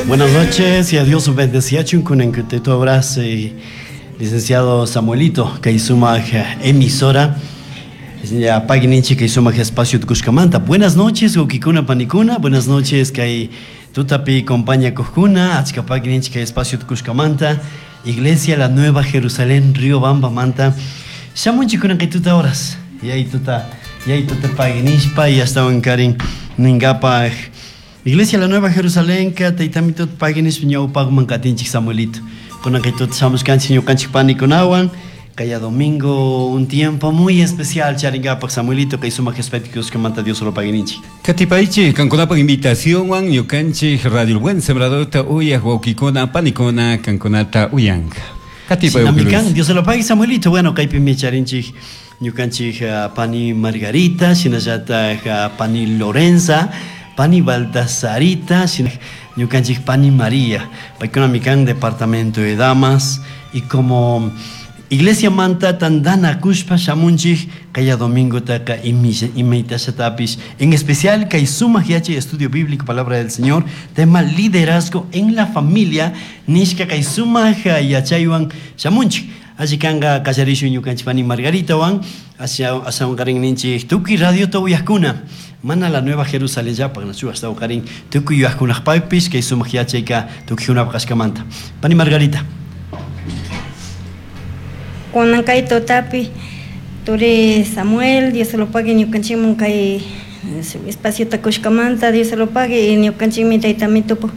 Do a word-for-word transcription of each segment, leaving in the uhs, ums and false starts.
Buenas noches y a Dios bendeciachun kunan tu abrazo y licenciado Samuelito kay sumaq emisora ya pagui kay sumaq espacio tukushkamanta. Buenas noches wawkikuna panikuna, buenas noches kay tutapi compañía kujkuna, achka pagui kay espacio tukushkamanta, Iglesia La Nueva Jerusalén Riobamba manta. Shamunchik kunan kay tuta horas. Yay tuta, yay tuta pagui nishpa y hasta karin ningapaj Iglesia La Nueva Jerusalén ka taytamito pagui nishpa ñawpaqman katinchik Samuelito. Kunan kay tuta shamushkanchik ñukanchik panikunawan kaya domingo un tiempo muy especial charingapaq Samuelito kay sumaq manta Dios solo paguininchik. Katipaychik kankunapaq invitacionwan ñukanchik Radio El Buen Sembradorta uyaq wawkikuna panikuna kankunata uyanka. Katipay Dios se lo pague Samuelito. Bueno, kaypimi charinchik ñukanchik uh, pani Margarita, shinallataq uh, pani Lorenza, pani Baltasarita, ñukanchik pani María. Paykuna mikan departamento de damas y como Iglesia manta tandana kushpa shamunchik kaya domingo taka imitashatapish en especial kay sumaq yachay estudio bíblico palabra del Señor tema liderazgo en la familia nishka kay sumaq yachaywan shamunchik alli kanka kallarishu ñukanchik pani Margarita wan ashawan karin ninchik tukuy radiota uyaqkuna mana la Nueva Jerusalén llapaq nachu ashtawan karin tukuy uyaqkunaqpaqpish kay sumaq yachayka tukuykunapaq kashkamanta pani Margarita. Kunan kay tutapi turi Samuel, Dios se lo pague ñukanchikman kay espacio kushkamanta, Dios se lo pague y ñukanchikmi taytamitupu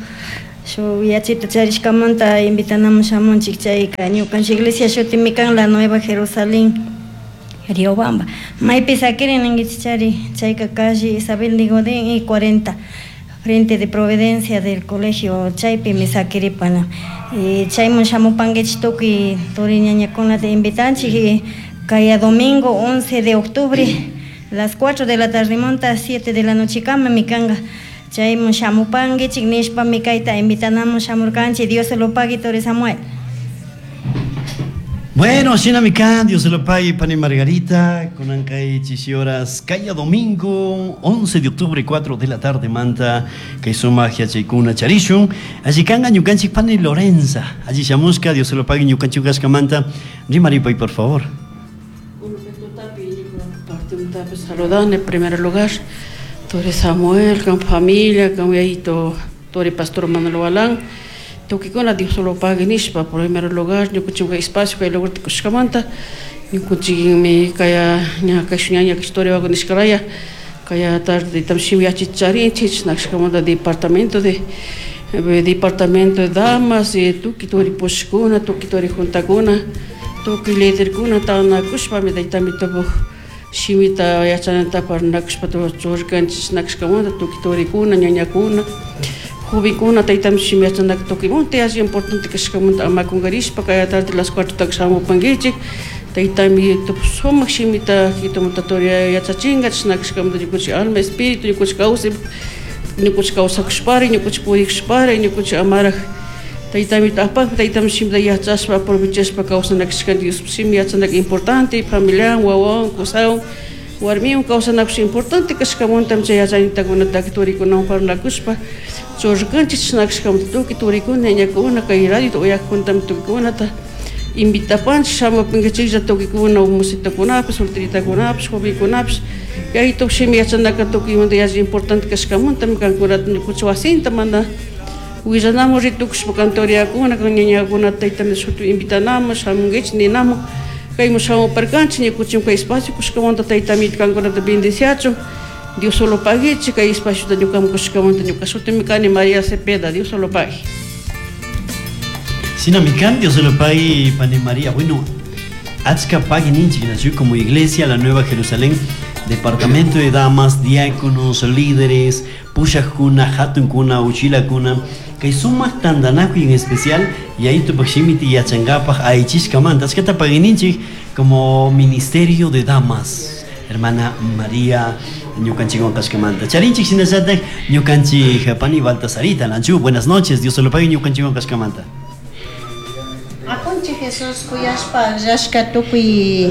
shu yachayta charishkamanta invitanamun shamunchik chayka ñukanchik iglesia shutimi kan La Nueva Jerusalén Riobamba. Maypi sakirin ninkichik chari chayka calle Isabel de Godín y cuarenta frente de Providencia del colegio chaypimi sakiripana. Y chayman shamupankichik tukuy turi ñañakunata invitanchik y kaya domingo once de octubre las cuatro de la tarde monta siete de la noche kama mi kanka chayman shamupankichik nishpami kayta invitanamun shamurkanchik. Dios se lo pague turi Samuel. Bueno, shinamikan, Dios se lo pague, pani Margarita, kunan kay horas, kaya domingo, once de octubre, cuatro de la tarde, manta, kay sumaq yachaykuna charishun, alli kanka ñukanchik pani Lorenza, alli shamushka, Dios se lo pague, ñukanchik manta, rimaripay, por favor. Saludan en primer lugar, turi Samuel, con familia, con yayito, turi pastor Manuel Walán, tukikuna Dios lo pague nishpa por primer lugar ñukanchik espacio kay lugar tikushkamanta ñukanchikmi kaya ña kay ñaña historia wago nishkaraya kaya tarde tam shimi yachicharinchik nashkamanta departamento de departamento de damas y tuki turi pushkuna tuki turi juntakuna tuki liderkuna tanakushpami taytamitupu shimita yachanata parnakushpa churkanchik nashkamanta tuki turikuna ñañakuna jovenkuna taytami shimi yachanaka tukuymanta alli importante kashkamanta ama kunkarishpa kaya tarde las cuatro taka shamupankichik taytami sumak shimita kitumanta turi yachachinka chashna kashkamanta ñukanchik alma espíritu ñukanchik kawsay ñukanchik kawsakushpari ñukanchik purikushpari ñukanchik amaraj taytami apakpi taytami shimita yachashpa aprovechashpa kawsana kashkanchik Dios shimi yachanaka importante familiawan wawawan kusawan warmiwan kawsanakush importante kashkamanta chay yachaytakunataka turikunawan parlakushpa churkanchik chashna kashkamanta tukuy turikuna ñañakuna kay radio uyaqkuntami tukuykunata invitapanchik shamupankichiklla tukuykuna musitakunapish solteritakunapish jovenkunapish yayitup shimi yachanaka tukuymanta yalli importante kashkamantami kankunata ñukanchik wasinta mana willanamun ritukushpa kantoriakuna kan ñañakunata taytami shuti invitanamun shamunkichik ninamun kayman shamuparkanchik ñukanchik kay espacio kushkamanta taytami kankunata bendiciachun Dios solo pague kay espacio ñukaman kushkamanta ñuka shutimi kani María Cepeda, Dios solo pague. Sinamikan, Dios se lo pague, pani María. Bueno, achka pagui ninchik nació como Iglesia La Nueva Jerusalén, departamento de damas, diáconos, líderes, pushaqkuna, hatunkuna, uchilakuna, kay sumaq tantanakuy en especial y ahí tupak shimiti yachankapaq aychishkamanta achkata pagui ninchik como ministerio de damas, hermana María ñukanchikwan kashkamanta. Charinchik shinallatak ñukanchik pani Baltasarita, Nanchu, buenas noches, Dios se lo pague ñukanchikwan kashkamanta. Apunchik Jesús kuyashpa akllashka tukuy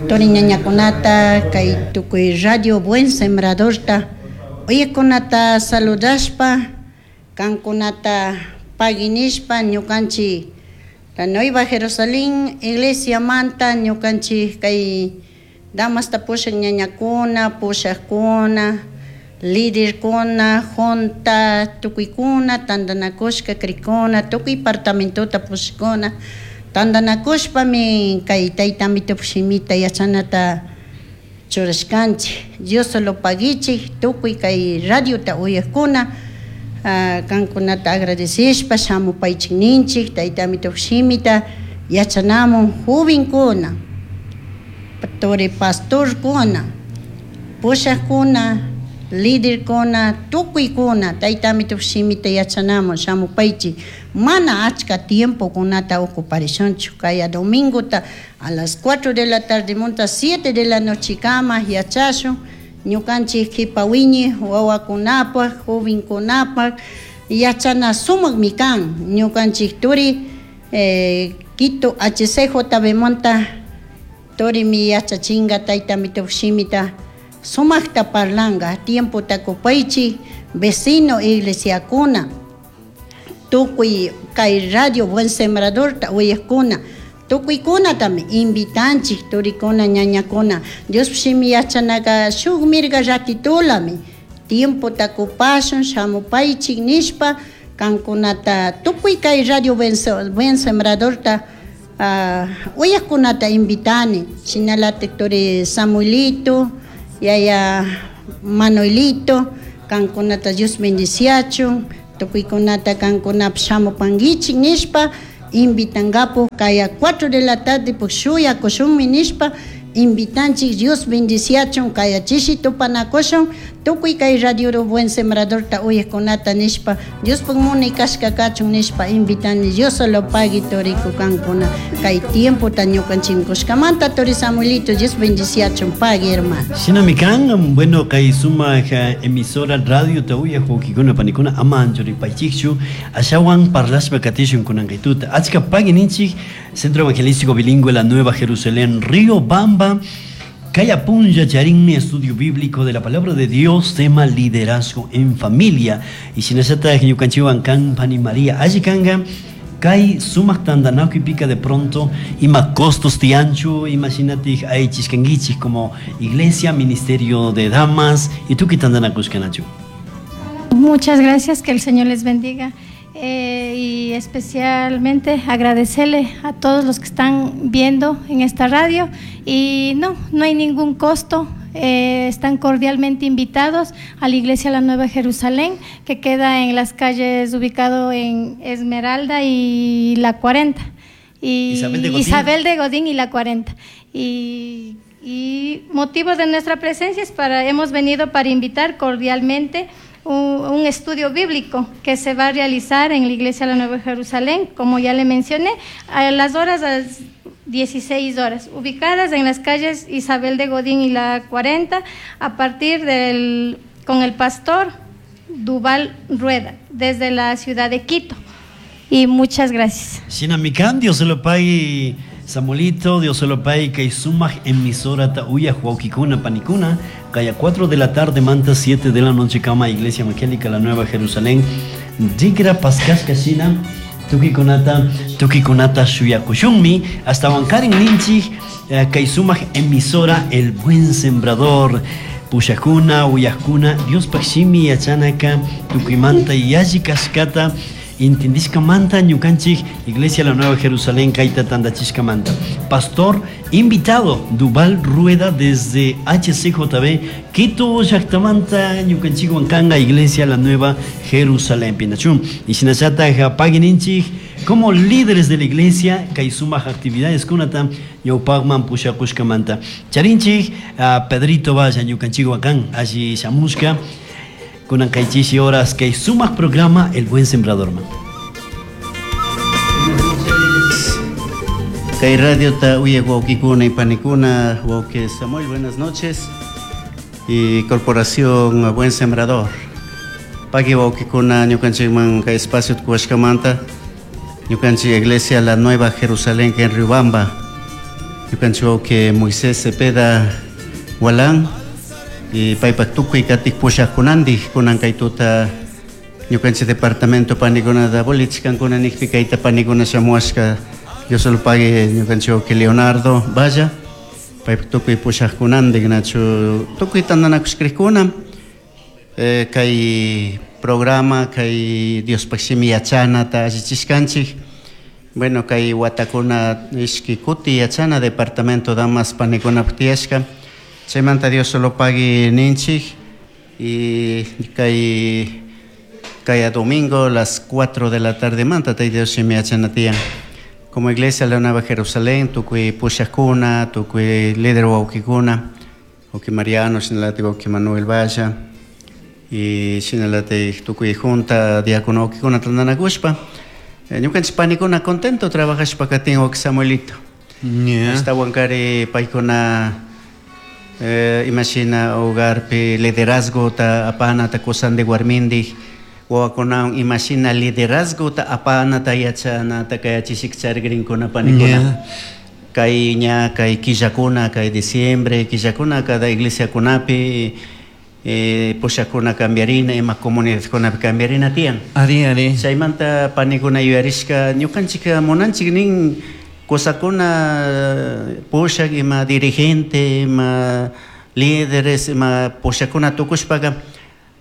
turi ñañakunata kay tukuy Radio Buen Sembradorta uyakunata saludashpa Kankunata paginishpa ñukanchik La Nueva Jerusalén iglesia manta ñukanchik kay damasta pushak ñañakuna, pushakuna, líderkuna, junta, tukuykuna, tantanakushka krikuna, tukuy departamentota pushakuna, tantanakushpami kay tayta Amitopak shimita yachanata churashkanchik. Dios solo paguichik tukuy kay radiota uyakuna, kankunata agradecishpa shamupaychik ninchik tayta Amitopak shimita yachanamun jovenkuna, turi pastorkuna, pushakuna, líderkuna, tukuykuna tayta Amitopak shimita yachanamun shamupaychik. Mana achka tiempokunata ocuparishunchu kaya domingota a las cuatro de la tarde monta siete de la noche kama yachashun ñukanchik kipa wiñi wawakunapaj jovenkunapaj yachana sumakmi kan ñukanchik turi eh, Quito H C J B monta turimi yachachinga tayta Amitopak shimita sumakta parlanga tiempota kupaychik vecino iglesiakuna tukuy kay radio Buen Sembradorta uyakuna tukuykuna invitanchik turikuna ñañakuna Dios shimi yachanaka shuk mirga ratitulami tiempota kupashun shamupaychik nishpa kankunata tukuy kay radio Buen, Buen Sembradorta uh, uyakunata invitani shinalatik turi Samuelito yaya Manuelito kankunata Dios bendiciachun tukuykunata kankunap shamupankichik nishpa invitangapu kaya cuatro de la tarde pues shuyakushunmi nishpa invitanchik Dios bendiciachun kaya chishi tupanakushun tukuy kay radio Buen Sembradorta uyakunata nishpa Diospuk munay kashka kachun nishpa invitani Dios solo pagui turiku kankuna kay tiempota ñukanchik kushkamanta turi Samuelito Dios bendiciachun pagui hermano. Shinami kan, bueno, kay sumak emisora radio ta uya wawkikuna panikuna ama anchuripaychikchu ashawan parlashpa katishun kunankaytuta achka pagui ninchik Centro Evangelístico Bilingüe La Nueva Jerusalén Río Bamba Kaya punlla charinmi estudio bíblico de la palabra de Dios, tema liderazgo en familia. Y shinallata ñukanchikwan kan pani María alli kanga kay sumak tantanakuy pica de pronto ima costos tianchu imagínate aychishkankichik como iglesia, ministerio de damas y tukuy tantanakushkanachu. Muchas gracias, que el Señor les bendiga. Eh, y especialmente agradecerle a todos los que están viendo en esta radio. Y no, no hay ningún costo, eh, están cordialmente invitados a la Iglesia La Nueva Jerusalén, que queda en las calles ubicado en Esmeralda y la cuarenta. Y Isabel de Godín. Isabel de Godín y la cuarenta. Y, y motivo de nuestra presencia es para, hemos venido para invitar cordialmente un, un estudio bíblico que se va a realizar en la Iglesia de la Nueva Jerusalén, como ya le mencioné, a las horas a las dieciséis horas, ubicadas en las calles Isabel de Godín y la cuarenta, a partir del, con el pastor Duval Rueda, desde la ciudad de Quito. Y muchas gracias. Shinamikan, Dios se lo pague, Samuelito, Dios se lo pague, kay sumak emisora ta uya huauquicuna panicuna, kaya cuatro de la tarde, manta siete de la noche, cama Iglesia Evangélica La Nueva Jerusalén, Digra Pascas Kashina, tukikunata, tukikunata shuyakushunmi, hasta Bancarin Ninchik, kay sumak emisora El Buen Sembrador, Pushakuna, Uyakuna, Dios pakshimi yachanaka, tukimanta yalli kashkata, intindishkamanta ñukanchik Iglesia La Nueva Jerusalén kayta tandachishkamanta. Pastor invitado Duval Rueda desde H C J B Quito llaktamanta ñukanchikwan kanga Iglesia La Nueva Jerusalén Pinachun. Y shinallata paguininchik como líderes de la iglesia kay sumak actividades kunata ñawpaqman pushakushkamanta. Charinchik a Pedrito Valla ñukanchikwan kan alli shamushka kunan kaychishi horas kay sumak programa El Buen Sembrador. Kay radio ta uye wawkikuna y panikuna, wawki Samuel, buenas noches. Y Corporación Buen Sembrador. Pagui wawkikuna ñukanchikman kay espacio tukuwashkamanta, ñukanchik Iglesia La Nueva Jerusalén en Riobamba. Ñukanchik wawki Moisés Cepeda Walán y paypak tukuy katik pushaqkunandik kunan kaytuta Ñukanchik departamento panikunata bolichkankuna nikpi kayta panikuna shamuashka Dios lo pague ñukanchik que Leonardo vaya paypak tukuy pushaqkunandik nachu tukuy tantanakushkrikkuna eh, kay programa kay Diospaq shimi yachanata allichishkanchik. Bueno, kay watakuna ishki kuti yachana departamento damas panikunapaq tiyashka chaymanta Dios lo pague ninchik y kay kay domingo las cuatro de la tarde manta tayta Dios shimi yachana tiyan. Como iglesia la Nueva Jerusalén tukuy pushaqkuna tukuy líder wawqikuna wawqi Mariano shinalati wawqi Manuel Valla y shinalati tukuy junta diácono wawqikuna tantanakushpa ñukanchik panikuna contento trabajashpa katin wawqi Samuelito. Yeah. Ashtawankari paykuna eh, imashina hogarpi liderazgota apanata kusandi warmindik wawakunawan imashina liderazgota apanata yachanata kayachishik charigrinkuna panikuna. Yeah. Kay ña kay killakuna kay diciembre killakuna cada iglesiakunapi eh, pushakuna cambiarina ima comunidadkunapi cambiarina tiyan. Ari, ari. Chaymanta panikuna yuyarishka ñukanchik munanchik nin kusakuna pushak ima dirigente ima líderes ima pushakuna tukushpaka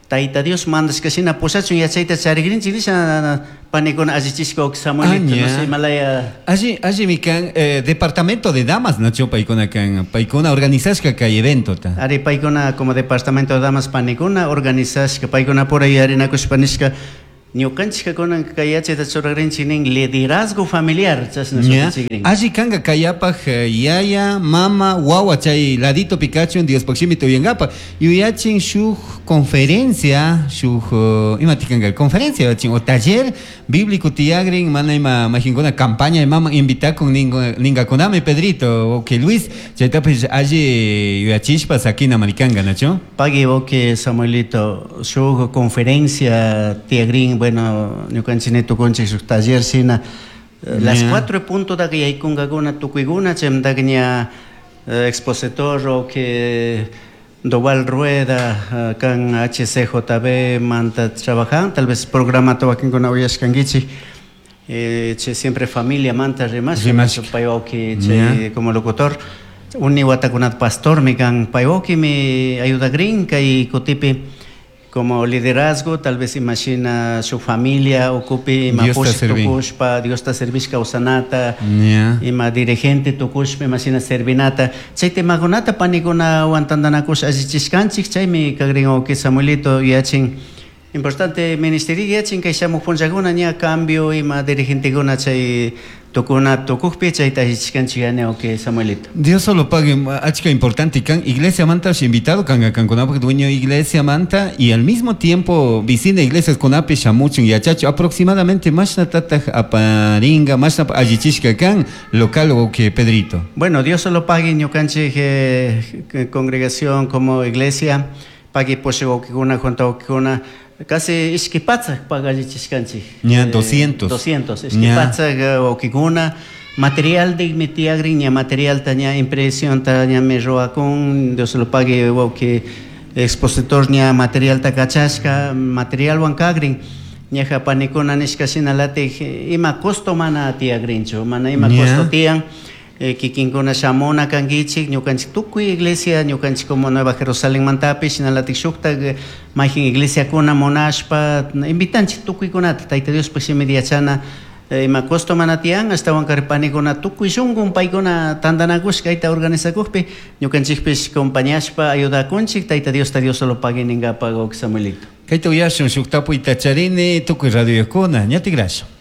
Tayta Dios mandashka shina pushachun yachayta charigrinchik nisha panikuna allichishka wawqi Samuelito, no sé, Himalaya. Allí, allí mi kan, eh, departamento de damas, nacho paikuna kan, paikuna organizashka kay evento ta. Ari paikuna como departamento de damas panikuna organizashka paikuna por ahí arinakushpa nishka ñukanchik kunan kay yachayta churagrinchik nin liderazgo familiar chashna shutinchikrin. Allí kanga kayapaj yaya, mama, wawa chay ladito Pikachu Diospaq shimita uyankapa yuyachin shuk conferencia shuk uh, ima tikanga conferencia yachin o taller bíblico tiyagrin mana ima majinkuna campaña mama invitakun ningakunami Pedrito o que Luis chaytapish alli yuyachishpa sakina marikanga nacho. Pagui que Samuelito shuk conferencia tiyagrin bueno ñukanchik tukunchik shuk taller shina las Yeah. cuatro punto da que yaykungakuna tukuykuna chaymantaka ña expositor o que Doval Rueda kan H C J B manta trabajan tal vez programa wakinkuna uyashkankichik eh, che siempre familia manta rimash Rimashka. payawki che Yeah. como locutor uni watakunat pastor mi kan payawki mi ayuda grin kay kutipi como liderazgo, tal vez imagina su familia ocupe ima Dios ta push servi. tukushpa, Dios ta servishka usanata, Yeah. ima dirigente tukushpa, imagina servinata. Chay temakunata panikuna tantanakush allichishkanchik, chaymi kagrin wawqi Samuelito yachin. Importante ministerio yachin kay shamuq punllakuna ña cambio ima dirigentekuna chay tukuna tukukpi chayta allichishkanchik yani wawqi Samuelito. Dios solo pague, achka importante kan iglesia manta invitado kanga kankunapaq dueño iglesia manta y al mismo tiempo vicina iglesias kunapi shamuchun yachachu aproximadamente mashna tataq aparinga mashna allichishka kan local o que Pedrito. Bueno, Dios solo pague ñukanchik eh, congregación como iglesia pague poshe wawqikuna junta wawqikuna casi ishki patsak paga allichishkanchik. Ña, doscientos. doscientos, ishki Ña. patsak wawqikuna material de mi tiagrin ña material ta ña impresión ta ña me ruwakun Dios lo pague wawqi expositor ña material ta kachashka material wan kagrin ñaja panikuna nishka shinalatik ima costo mana tiagrinchu mana ima Ña. costo tiyan eh, kikinkuna shamuna kankichik ñukanchik tukuy iglesia ñukanchik como Nueva Jerusalén mantapi shinalatik shuktak mayjin iglesiakuna munashpa invitanchik tukuykunata Tayta Diospaq shimita yachana eh, ima costo mana tiyan ashtawan kari panikuna tukuy shunqun paykuna tantanakushka kayta organizakukpi ñukanchikpish compañashpa ayudakunchik Tayta Diosta Dios solo pague ninkapak wawqi Samuelito. Kayta uyashun shuk tapuyta charini tukuy radioyuqkuna ñatikrashun.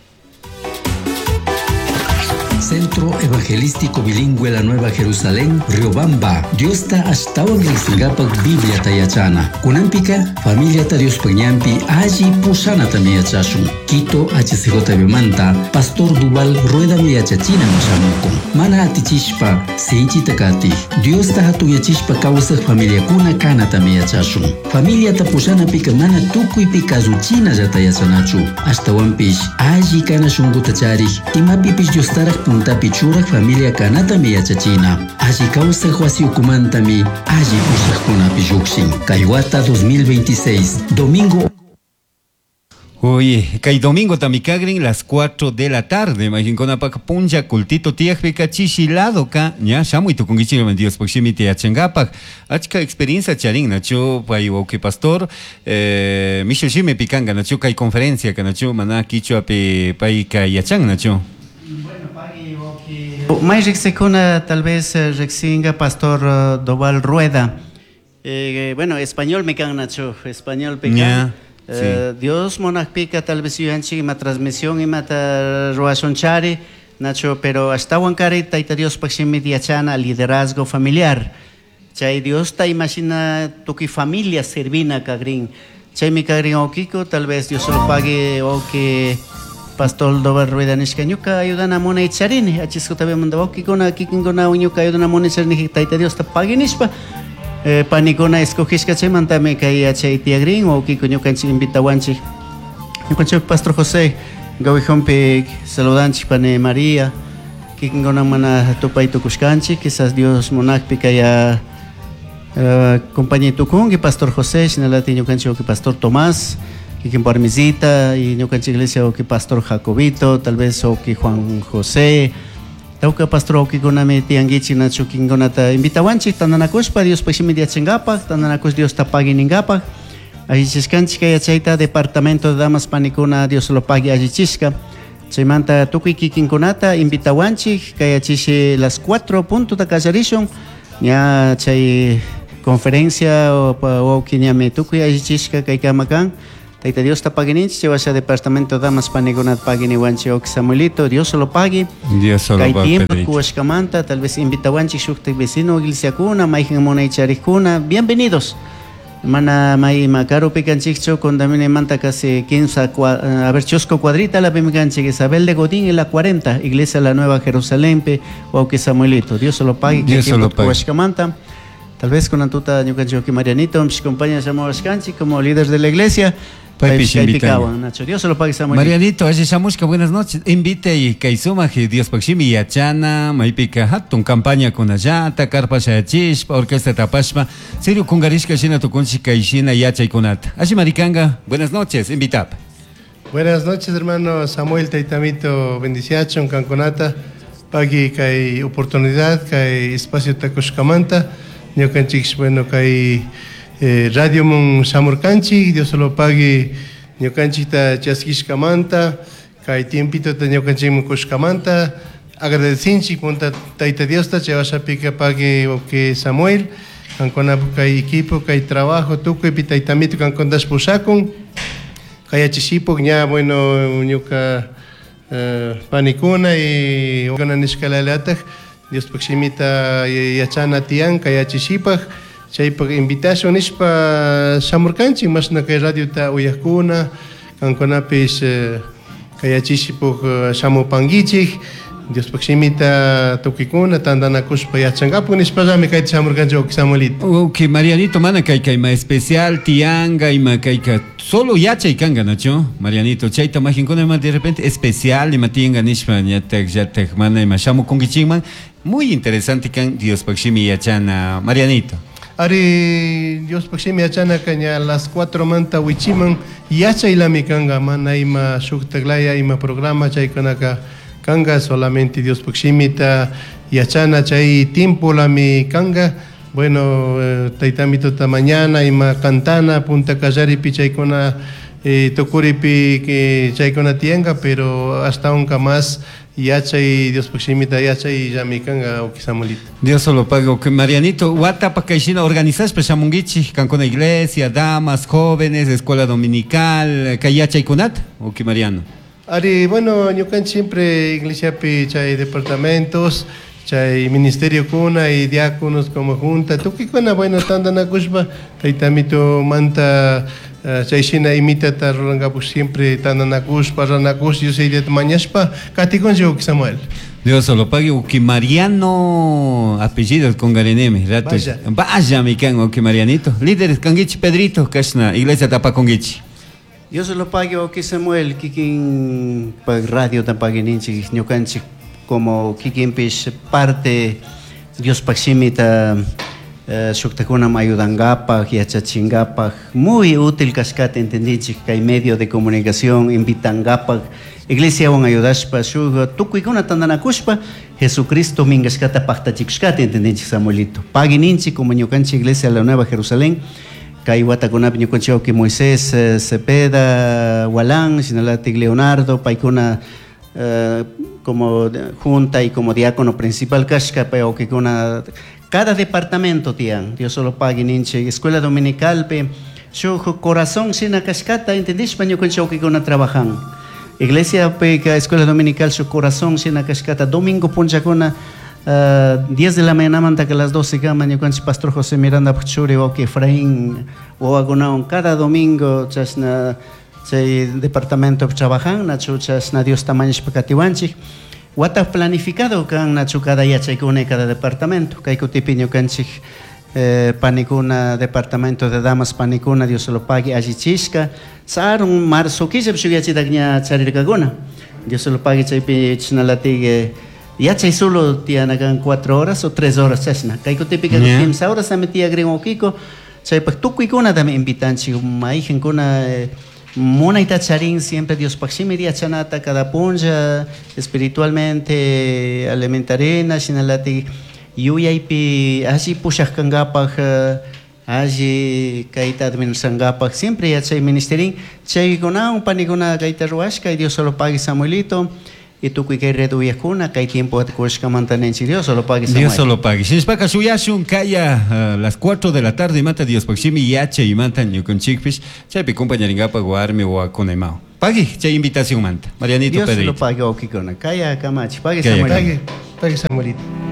Centro Evangelístico Bilingüe La Nueva Jerusalén, Riobamba. Diosta ashtawan riqsinkapak Biblia tayachana. Kunampika, familia ta Dios pañampi alli pushanata miyachashun. Quito H C J B manta, Pastor Duval Rueda miyachachina mashamukun. Mana atichishpa, sinchita kati. Diosta hatuyachishpa kawsaq familiakuna kanata miyachashun. Familia ta pushanapika mana tukuypi kasuchina llata yachanachu. Ashtawanpish, alli kana shunquta charik, imapipish Diostaraq puntapi churaq familia kanatami yachachina. Alli kawsaq wasiukumantami alli pushaqkunapi lluqshin. Kay wata dos mil veintiséis, domingo. Oye, kay domingo tamikagrin las cuatro de la tarde, imaginkuna pak punlla cultito tiyakpika chishilado ka ña shamuy tukunkichik Diospaj shimita yachankapak achka experiencia charin nachu pay wawqi pastor eh, Michel shimi pikanka nachu kay conferencia ka nachu mana kichwapi payka yachan nachu. May riqsikuna tal vez riqsinga pastor uh, Doval Rueda. Eh, bueno, español me kan nachu, español pikan. Yeah. Eh, Sí. Dios monajpika tal vez yuyanchik ima transmisión imata ruwashunchari Nacho, pero ashtawankari Tayta Diospaj shimita yachana liderazgo familiar. Chay Dios ta imagina tukuy familia servina kagrin. Chaymi kagrin wawkiko, tal vez Dios lo pague wawki Pastor Doval Rueda nishka ñuka ayudana munay charini achiskuta manda wawkikuna kikinkuna ñuka ayudana munay charini Tayta Diosta pagui nishpa. Eh, panikuna escogishka chaymantami kay yachay tiyagrin wawkiko ñukanchik invitawanchik. Ñukanchik Pastor José Gawijompi saludanchik pani María kikinkuna mana tupay tukushkanchik quizás Dios munakpi kay uh, compañía tukunki Pastor José shinalati ñukanchik wawki Pastor Tomás kikin parmisita y ñukanchik iglesia wawki Pastor Jacobito tal vez wawki Juan José Tawka pastor wawkikunami tiyankichik nachu kikinkunata invitawanchik tantanakushpa Diospaj shimita yachankapak tantanakush Diosta pagui ninkapak allichishkanchik kay yachayta departamento de damas panikuna Dios lo pague allichishka chaymanta tukuy kikinkunata invitawanchik kay yachishi las cuatro punto ta kallarishun ña chay conferencia wawki ñami tukuy allichishka kaykama kan Tayta Diosta paguininchik chay washa departamento damas panikunata paguiniwanchik wawki Samuelito Dios lo pague. Dios solo Kay pague, tiempo Pedrito. kuwashkamanta tal vez invitawanchik shuktik vecino iglesiakuna mayjin munaycharikuna bienvenidos. Mana may makaru pikanchikchu condamine casi quince a ver chusco cuadrita la pimikanchik Isabel de Godín en la cuarenta Iglesia La Nueva Jerusalén pe wawki Samuelito Dios lo pague. Dios Kay tiempo lo pague. kuwashkamanta tal vez con antuta ñukanchik wawki Marianito mis compañeros shamuwashkanchik como líder de la iglesia. Paypish Kaypi invitan. kawan, Nacho. Dios lo pague Samuelito. Marianito, alli shamushka, buenas noches. Invite y kay sumak Diospaj shimi yachana, maypika hatun campaña kunallata, carpa shayachishpa, orquesta tapashpa, serio kungarishka shina tukunchik kay shina yachaykunata. Alli marikanga, buenas noches, invitap. Buenas noches, hermano Samuel Taitamito, bendiciachon, kankunata, pagui kay oportunidad, kay espacio takushkamanta, ñukanchik, bueno, kay eh, radio mun shamurkanchik, Dios lo pague ñukanchikta chaskishkamanta, kay tiempito ta ñukanchik kushkamanta, agradecinchik punta Tayta Diosta, chay washapika pague wawki Samuel, kankuna kay equipo, kay trabajo, tukuy pi Taytamito kankuntash pushakun, kay yachishipuk ña bueno ñuka eh, panikuna y nishkalalataj Diospaj shimita yachana tiyan kay yachishipaj chaypaj invitación nishpa shamurkanchik mashna kay radiota uyajkuna kankunapish eh, kay yachishipuk eh, shamupankichik Diospaj shimita tukikuna tantanakushpa yachankapak nishpallami kayta shamurkanchik wawki Samuelito. Ok, Marianito, mana kay kay ma especial tianga ima kayka solo yachay kanga nacho Marianito chayta majinkuna ima de repente especial ima tianga nishpa ñatak yatak mana ima shamukunkichikman muy interesante kan Diospaj shimi yachana Marianito. Ari Diospaj shimi yachana kaña las cuatro manta wichiman yachaylami kanga mana ima shuktaklaya ima programa chaykunaka kanga solamente Diospaj shimita yachana chay tiempolami kanga bueno eh, taytamito ta mañana ima cantana punta kallaripi chaykuna eh, tukuripi que chaykuna tiyanka pero hasta unka más yachay Diospaj shimita yachay llami kanga wawki Samuelito. Dios solo pago que Marianito, watapa kayshina organizashpa shamunkichik kankuna iglesia, damas, jóvenes, escuela dominical, kay yachaykunata, wawki Mariano. Ari, bueno, ñukanchik siempre iglesiapi chay departamentos, chay ministerio kuna y diáconos como junta, tukikuna, bueno, tantanakushpa, taytamito manta uh, chay shina imitata rurankapak siempre tantanakushpa, ranakush, Dios yayata mañashpa, katikunchik wawki Samuel. Dios solo pague, wawki Mariano, apellido con gareneme, rato. Vaya. Vaya, mi can, wawki Marianito. Líderes, kanguichi Pedrito, kashna, iglesia tapakonguichi. Dios lo pague, wawki Samuel, kikin pag radio tapaguininchik, ñukanchik como kikinpish parte Diospaj shimita eh, shuktakunam ayudankapaj, yachachinkapak, muy útil kashkata entendinchik kay medio de comunicación invitankapak, iglesiawan ayudashpa shuk tukuykuna tantanakushpa Jesucristo minkashkata paktachikushkata entendinchik Samuelito. Pagui ninchik como ñukanchik Iglesia La Nueva Jerusalén, kay watakunapi ñukanchik wawki Moisés eh, Cepeda, Walán, shinalatik Leonardo, paykuna eh, como junta y como diácono principal kashka, pay wawkikuna cada departamento tiyan, Dios solo pagui ninchik, escuela dominical pe shuk corazón shina kashkata entendishpa ñukanchik wawkikuna trabajan. Iglesia pe escuela dominical shuk corazón shina kashkata domingo punchakuna uh, diez de la mañana manta que las doce kama ñukanchik pastor José Miranda churi wawki Efraín wawakunawan cada domingo chashna chay departamento trabajan nachu chashna Diosta mañashpa katiwanchik. Wata planificado kan nachu cada yachaykuna cada departamento kay kutipi ñukanchik eh, panikuna departamento de damas panikuna Dios se lo pague allichishka sarun marzo killap shuk yachitak ña charirkakuna Dios se lo pague chaypi chinalatik eh, yachay solo tiyana kan cuatro horas o tres horas chashna kay kutipika Yeah. kimsa horas ami tiyakrin wawkiko chaypak tukuykunatami invitanchik mayjinkuna eh, munayta charin siempre Diospaq shimi yachanata cada punlla espiritualmente alimentarina shinalatik yuyaypi alli pushaq kankapaj eh, alli kayta administrankapak siempre yachay ministerin chaykunawan panikuna kayta ruwashka y Dios solo pague Samuelito y tukuy kay red uyakuna kay tiempo kushkamanta ninchik Dios solo pague Samuel. Dios solo pague. Shinashpaka shuyashun kaya uh, las cuatro de la tarde manta Diospaq shimi yachay manta ñukanchikpish chaypi compañarinkapak warmi wawakunamao. Pagui chay invitación manta. Marianito Dios Pedrito. solo pague wawkikuna kaya kamachi pague Kaya Samuel. Pague, pague Samuelito.